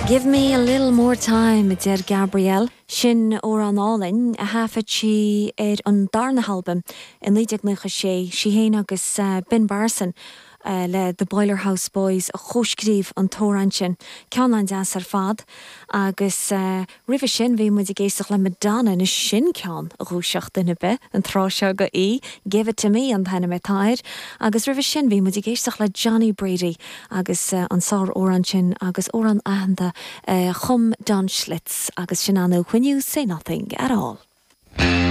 Give me a little more time, a deir Gabrielle. Sin amhrán álainn a thaifead sí ar an darna halbam i 1996, sí féin agus Ben Barson le The Boiler House Boys a chomhscríobh an t-amhrán sin. Ceann an-deas ar fad. Agus roimhe sin bhí muid ag éisteacht le Madonna, anois sin ceann a dhúiseodh duine ar bith an tráth seo de oíche, Give It To Me an t-ainm atá air. Agus roimhe sin bhí muid ag éisteacht le Johnny Brady agus an sár-amhrán sin agus amhrán aitheanta a chum Don Schlitz agus sin ná When You Say Nothing At All.